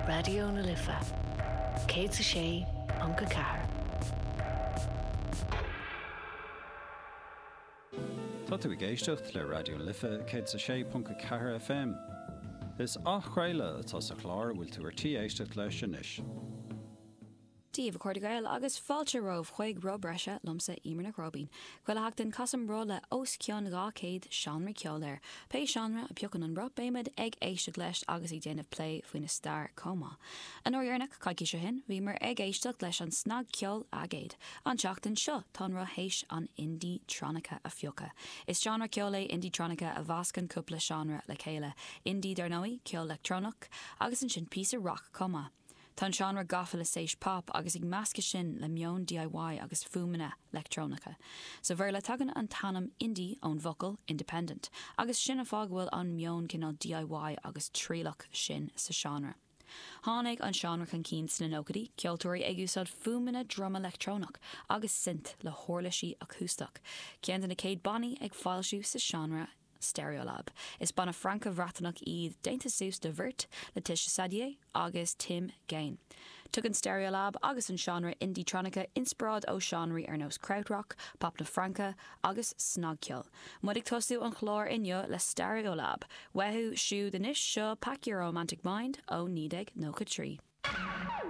Raidió na Life 106.4. Tá tú ag éisteacht le Raidió na Life 106.4 FM. Is athchraoladh atá sa chlár a bhfuil tú ar tí éisteacht leis anois. Dia daoibh, a chairde Gael, agus fáilte romhaibh chuig Roth Breise liomsa, Eimear Nic Róibín. Chuile sheachtain, casaim roth le os cionn 200 seánra ceoil air. Pé seánra a phiocann an roth, beimid ag éisteacht leis agus ag déanamh plé faoina stair chomh maith. An uair dheireanach, coicís ó shin, bhíomar ag éisteacht leis an snagcheol aigéid. An tseachtain seo, tá an roth théis an indie-tronica a phiocadh. Is seánra ceoil é indie-tronica a mheascann cúpla seánra le chéile. Indie, dar ndóigh, ceol leictreonach, agus ansin píosa rac chomh maith. Tá an seánra gafa le séis pop agus ag meascadh sin le meon DIY agus fuaimeanna leictreonacha. Sa Bhéarla tagann an t-ainm indie ón bhfocal independent agus sin an fáth go bhfuil an meon cineál DIY agus trialach sin sa seánra. Tháinig an seánra chun cinn sna nóchaidí, ceoltóirí ag úsáid fuaimeanna druma leictreonach agus synth le huirlisí acústach. Ceann de na céad bannaí ag foilsiú sa seánra Stereolab. Is banna Franco-Bhreataineach iad, déanta suas de bheirt, Laetitia Sadier agus Tim Gane. Tugann Stereolab agus an seánra indie-tronica inspioráid ó seánraí ar nós krautrock, pop na Fraince agus snagcheol. Muid ag tosú an chláir inniu le Stereolab. Uathu siúd anois, seo Pack Your Romantic Mind ó 1993.